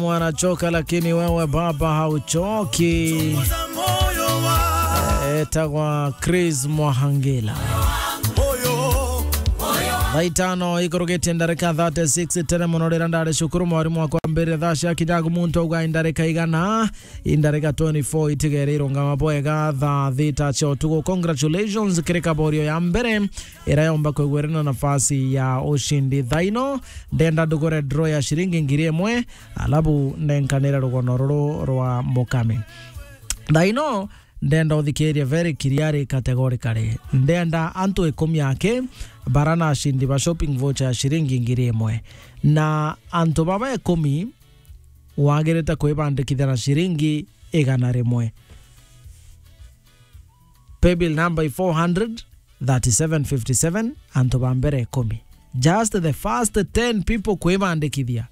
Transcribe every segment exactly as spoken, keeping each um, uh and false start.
Mwana choka, lakini wewe baba hauchoki. Etagwa Chris Mwahangila. Thaa itano ikurugite ndarika thirty-six tene mono, rira ndari cukuru, mwarimu wakwa ambirire thaa cia kinyagu muntu auga indarika igana, indarika twenty-four itigere irungama bwega thaa thita cia utuku. Congratulations kiri kaborio ya mbere ira yomba kwigwirana nafasi ya ushindi. Thaa ino ndenda ndugure draw ya shiringi ngiri imwe, alafu nenkanire rugono ruru rwa mukami. Thaa ino ndenda uthikirie very clearly categorically. Ndenda antu ikumi aki bara na ashindi ba shopping voucher ya shiringi ngiri imwe. Na antu baba ikumi wagirite kwibandikithia na shiringi igana rimwe. Paybill number i four hundred thirty-seven fifty-seven, antu ba mbere ikumi. Just the first ten people kwibandikithia.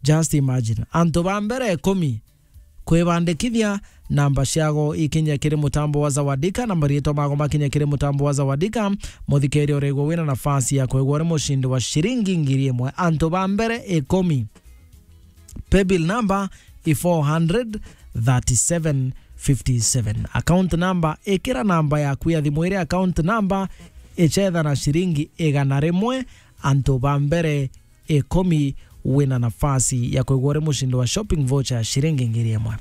Just imagine. Antu ba mbere ikumi kwibandikithia, namba ciago ikinye kiri mutambo wa Zawadika, na mariitwa mago makinye kiri mutambo wa Zawadika, muthikiri urigwo wina nafasi ya kwigwa uri mushindi wa shiringi ngiri imwe. Antu ba mbere ikumi. Paybill number i four hundred thirty-seven fifty-seven. Account number, ikira namba yaku ya thimu iri account number, ichetha na shiringi igana rimwe, antu ba mbere ikumi wina nafasi ya kwigwa uri mushindi wa shopping voucher ya shiringi ngiri imwe.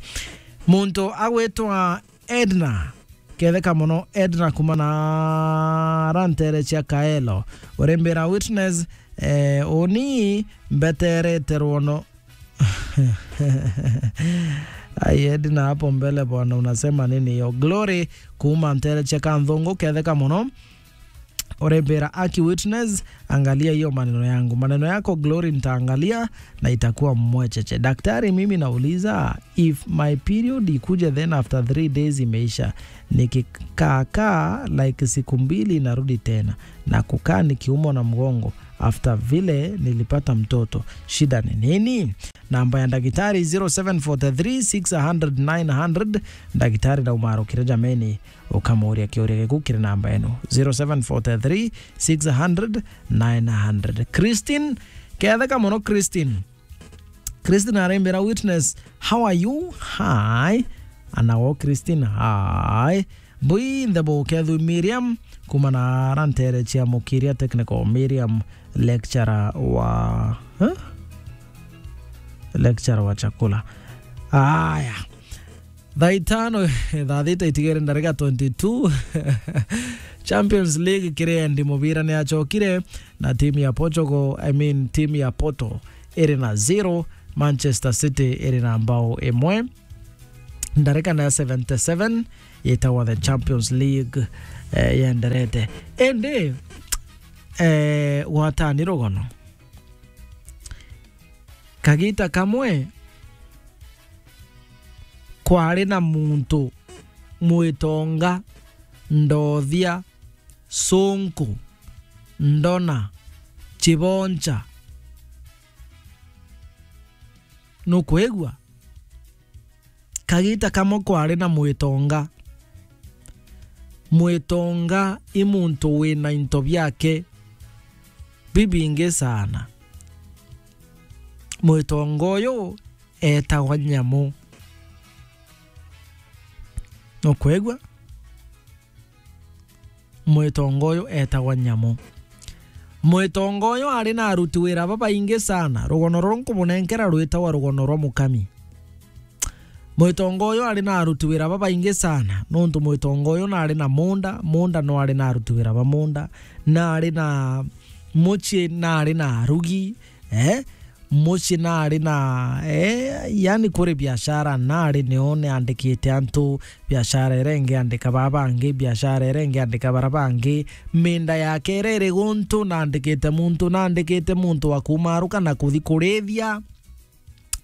Muntu agwitwa Edna, ketheka mono, Edna kuma na rantere cia Kaelo. Urimbira witness, eh, uni mbeterete rwono. Ai, Edna, hapo mbele bwana, unasema nini hiyo? Glory kuma ntere cia Kanthungu, ketheka mono. Urembera aki witness, angalia hiyo maneno yangu. Maneno yako Glory nitaangalia na itakuwa mwecheche. Daktari, mimi nauliza, if my period ikuje then after three days imeisha, nikikaa kaa like siku mbili narudi tena, na kukaa nikiumwa na mgongo after vile nilipata mtoto, shida ni nini? Namba ya ndagitari zero seven four three six hundred nine hundred. Ndagitari na umarukire jameni, ukamuria kiuria giku kiri namba ino, zero seven four three six hundred nine hundred. Christine, ketheka mono Christine. Christine arembera witness, how are you? Hi. Anawo Christine, hi. Bui nthe bukethu Miriam, kuma na rantere cia Mukiria Technical. Miriam, lecturer wa, huh? Lecturer wa chakula. Aya. Thaa itano, thaa thita itigere ndarika twenty-two. Champions League kiri endi mubira ni achokire na timu ya Portugal, I mean, timu ya Porto iri na zero, Manchester City iri na mbao imwe. Ndarika na seventy-seven yitagwa the Champions League, eh, yenderete. Indi, eh, gwatani rugono. Kagita kamwe kwari na muntu mwitonga, ndothia, sunku, ndona, chiboncha. Nukwigua? Kagita kamwe kwari na mwitonga. Mwitonga i muntu wina into biake bibingi sana. Mwitonga uyu etagwa Nyamu. Nukwigua? Mwitonga uyu etagwa Nyamu. Mwitonga uyu ari na aruti wira babaingi sana. Rugono ruru nkubunenkera rwitagwa rugono rwa mukami. Mwitonga uyu ari na aruti wira babaingi sana, nontu mwitonga uyu nari na munda, munda no ari na aruti wira ba munda, nari na mucii, nari na arugi, eh? Mucii nari na, eh, yani kuri biashara nari nio niandikite antu, biashara iria ingi andika baa bangi, biashara iria ingi andika bara bangi, minda yake iria iri guntu nandikite muntu, nandikite muntu wa kumaruka na kuthi kurithia,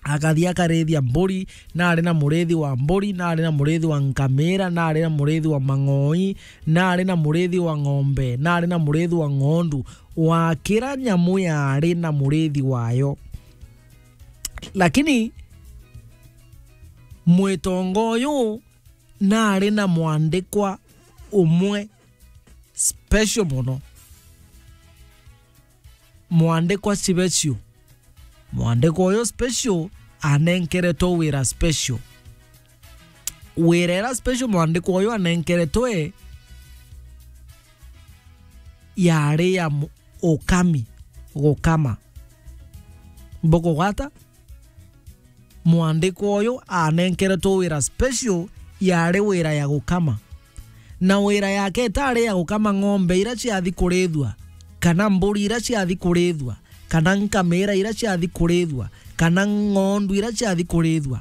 akathi akarithia mburi, nari na murithi wa mburi, nari na murithi wa nkamira, nari na murithi wa mang'oi, nari na murithi wa ng'ombe, nari na murithi wa ng'ondu, wa kira nyamu yari na murithi wayo. Lakini mwitonga uyu nari na mwandikwa umwe special mono. Mwandikwa special. Mwandiko uyu special anenkeretwe wira special. Wira ira special mwandiko uyu anenkeretwe yari ya mu-, ukami, gukama. Bukugwata? Mwandiko uyu anenkeretwe wira special yari wira ya gukama. Na wira yake itari ya gukama ng'ombe ira ciathi kurithua, kana mburi ira ciathi kurithua, kana nkamira ira ciathi kurithua, kana ng'ondu ira ciathi kurithua.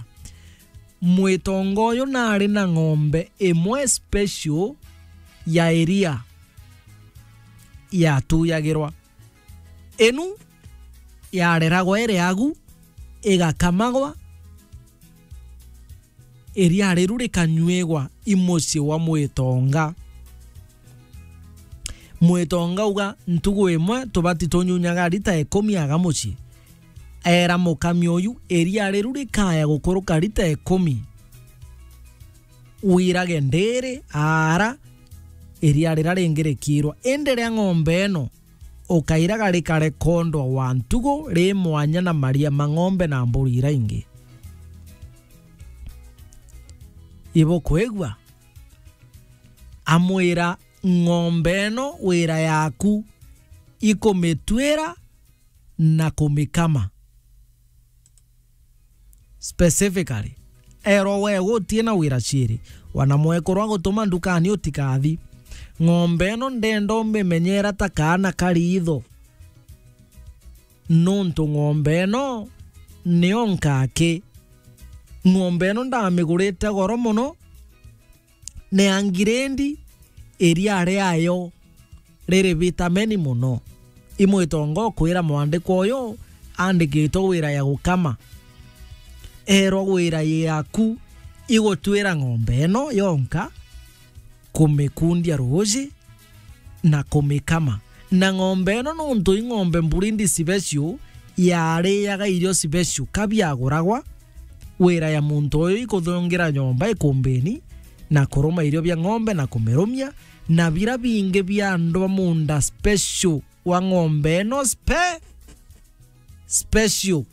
Mwitonga uyu nari na ng'ombe imwe special ya iria yatuyagirwa. Inu yareragwa iri agu, igakamagwa, iria riru rikanyuigwa i mucii wa mwitonga. Mwitonga uga, ntugu imwe tubati tunyunyaga rita ikumi aga mucii. Era mukami uyu, iria riru rikaya gukuruka rita ikumi. Wirage ndiri, aara, iria rira ringi rikiirwa. Indi ria ng'ombe ino, ukairaga rikare kondo wa ntugu ri mwanya na maria ma ng'ombe na mburi ira ingi. Ibukwigua? Amwira, ng'ombe ino wira yaku ikumituira na kumikama. Specifically, erwa we gutie na wira ciiri, wana mwekuru agutuma ndukani utikathi. Ng'ombe ino ndenda umimenyera ta kaana ka riitho, nuntu ng'ombe ino niyo nkaki. Ng'ombe ino ndamigurite goro mono, ni ya ngirendi, iria riayo riri vitameni mono. I mwitonga ukwira mwandiko uyu andikitwe wira ya gukama. Erwa wira yaku igutwira ng'ombe ino yonka, kumikundia ruuji na kumikama. Na ng'ombe ino nuntu i ng'ombe mburindi special, yariaga irio special ka biaguragwa, wira ya muntu uyu ikuthungira nyomba ikumbini, na kuruma irio bia ng'ombe na kumirumia, na bira bingi bia andu ba munda special wa ng'ombe ino spe-, special.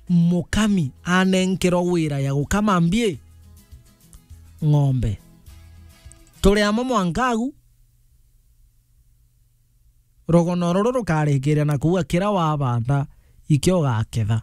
Mukami anenkerwa wira ya gukama mbii, ng'ombe. Turi amwe mwanka agu, rugono ruru rukarikiria na kuuga, kira wabanda, ikio ugaketha.